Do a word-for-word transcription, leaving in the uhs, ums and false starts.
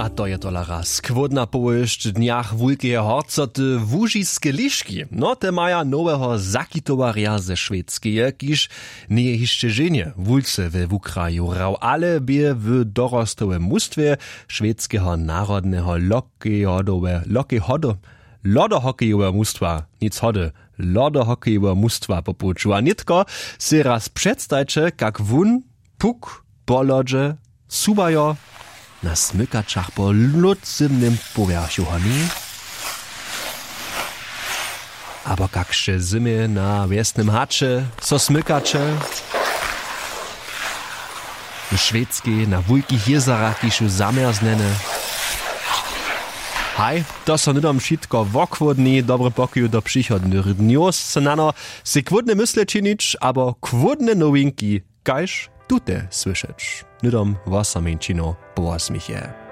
A to je tola raz chłódna powěsć w dnjach wulkeje horcoty. Łužiske liški, no te maja noweho zakitowarja ze šwejskeje, kiž njeje hišće ženje wulce we wukraju hrał, ale bě w dorostowym mustwje šwejskeho narodneho lokejhodowe lokejhodo lodohokejoweho mustwa nic hody lodohokejoweho mustwa po puću a nětko sej raz předstajće kak wón puk po lodźe suwajo na smykaćach po lódcymnym powjerchu honi abo kak sće zymje na wjesnym haće so smykaće w šwedskej na wulkich jězarach kiž su zamjerznjene. Haj, to so hnydom wšitko wochłódni. Dobry pokoju do přichodnych dnjow. Snano sej chłódne mysle činić abo chłódne nowinki kaž tute słyšeć hnydom wosomjeńćinow po wosměchje.